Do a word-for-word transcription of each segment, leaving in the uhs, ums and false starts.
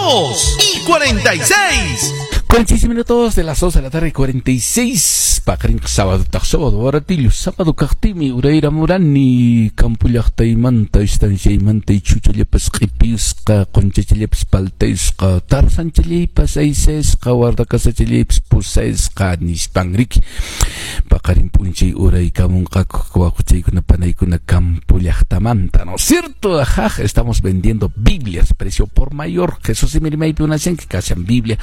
Dos y cuarenta y seis. cuarenta y seis minutos de las dos de la tarde, cuarenta y seis. Paqarin sábado, taq sábado, baratillo, sábado kaqtimi, urayra murani, campo llaqtaymanta, estanciaymanta, chuchallapas q'ipisqa, qunchachallapas paltaysqa, tarzanchallapas aysasqa, guardacasachallaypas pusaysqa, nispan riki. Paqarin p'unchay uraykamunqaku wawachaykuna panaykuna campo llaqtamanta, ¿no es cierto? Ajá, estamos vendiendo Biblias, precio por mayor. Jesús y rimaypi munashanki, kashan Biblia.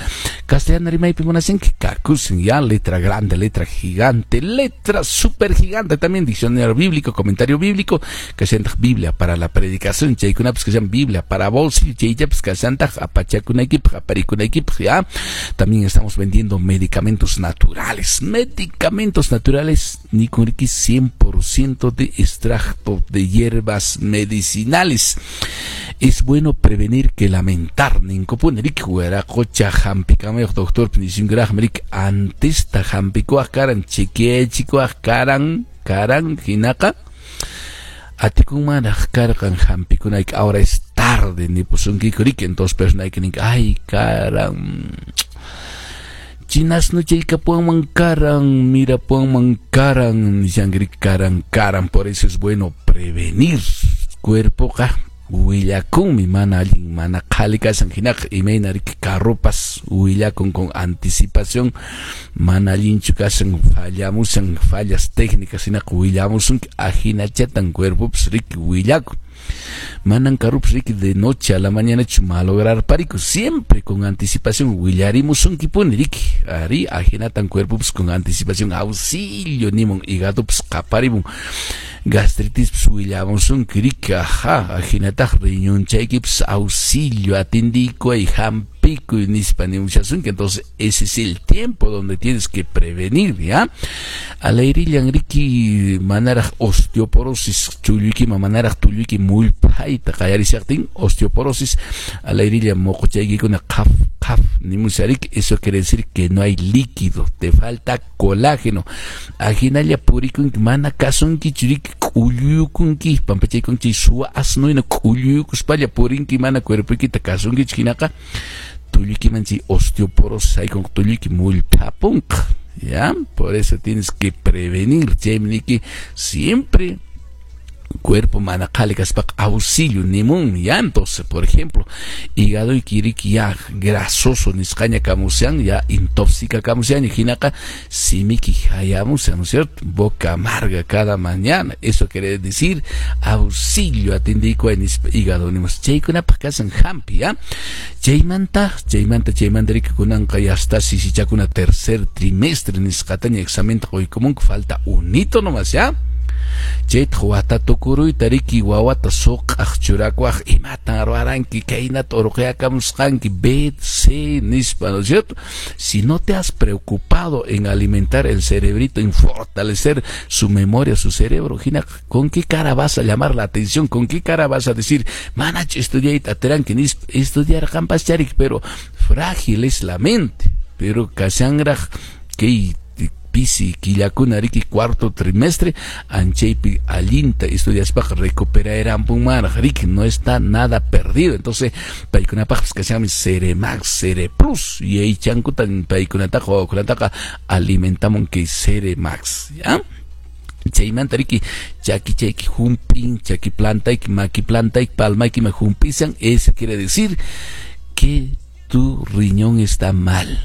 Castellano rimaypi munashanki, kakusin ya, letra grande, letra gigante, letra super gigante, también diccionario bíblico, comentario bíblico, kashantaq Biblia para la predicación, chaykunapas kashan Biblia para bolsillo, chaychapas kashantaq apachakunaykipaq, aparikunaykipaq, ya. También estamos vendiendo medicamentos naturales, medicamentos naturales, nikunriki cien por ciento de extracto de hierbas medicinales. Es bueno prevenir que lamentar, ninkupuni riki wiraqocha hampikamayuq doctor nisunkuraqmi riki antesta hampikuwaq karan, chequeachikuwaq karan, karan hinaqa atikunmanraq karqan hampikunayki, ahora es tarde nipusunkiku riki. Entonces personayki ninki: "Ay, karan chinasnuchaykapuwanman karan, mirapuwanman karan", nishanki karan, karan. Por eso es bueno prevenir. Cuerpoqa willakunmi mana allin, mana qhali kashan hinaqa, imayna riki carropas willakun con anticipación mana allinchu kashan, fallamushan, fallas técnicas hinaqa willamusunki, ahinachatan cuerpopas riki willakun. Manan carropas riki de noche a la mañana malograr pariku, siempre con anticipación willarimusunkipuni riki. Ari ahinatan cuerpopas con anticipación auxilio nimun, hígadopas qaparimun, gastritis willamusunki riki. Ajá, ahinataq riñonchaykipas auxilio, atindikuy, hampikuy nispa nimushasunki. Entonces ese es el tiempo donde tienes que prevenir, ya. Alayrillan riki manaraq osteoporosis chulluykiman, manaraq tulluyki mullpayta qallarishaqtin osteoporosis, alayrilla moqochaykikuna qhaf qhaf nimusharik. Eso quiere decir que no hay líquido, te falta colágeno. Ahinalla purikunki, mana kasunkichu riki, k'ulluykunki, pampachaykunki suwa asnuyna k'ulluykuspalla purinki, mana cuerpoykita kasunkichu hinaqa tulluykiman chay osteoporosis haykun, tulluyki mullpapunqa, ya. Por eso tienes que prevenir. Chaymi niki siempre cuerpo mana qhali kaspaqa auxilio nimunmi, ya. Entonces, por ejemplo, hígadoyki riki ya grasoso nisqaña kamushan, ya intoxica kamushan, hinaqa simiki hayamushan, ¿no es cierto? Boca amarga cada mañana, eso quiere decir auxilio, atindikuay nispa hígado nimus. Chaykunapaq kashan hampi, ya. Chaymanta, chaymanta, chaymanta riki kunanqa ya está sisichakuna tercer trimestre nisqataña examenta quykumunku, falta unito nomás, ya. Chaytaq wata tukuruyta riki wawata suq'aq churakuwaq: "Imatan ruwaranki, kaynata urquyakamusqanki B, C", nispa, ¿no es cierto? Si no te has preocupado en alimentar el cerebrito, en fortalecer su memoria, su cerebro, hina, ¿con qué cara vas a llamar la atención? ¿Con qué cara vas a decir: "Manach estudiayta atiranki", nispa? Estudiarqanpaschari, pero frágil es la mente. Pero kashanraq kay pisi killakuna riki cuarto trimestre, anchaypi allinta estudiaspaqa recuperayrampunmanraq riki, no está nada perdido. Entonces paykunapaqpas kashanmi Ceremax, Cereplus, y aychankutan paykunataqa wawakunataqa alimentamun kay Ceremax, ya. Chaymanta riki chakichayki hump'in, chaki plantayki, maki plantayki, palmayki ma humpisan, eso quiere decir que tu riñón está mal.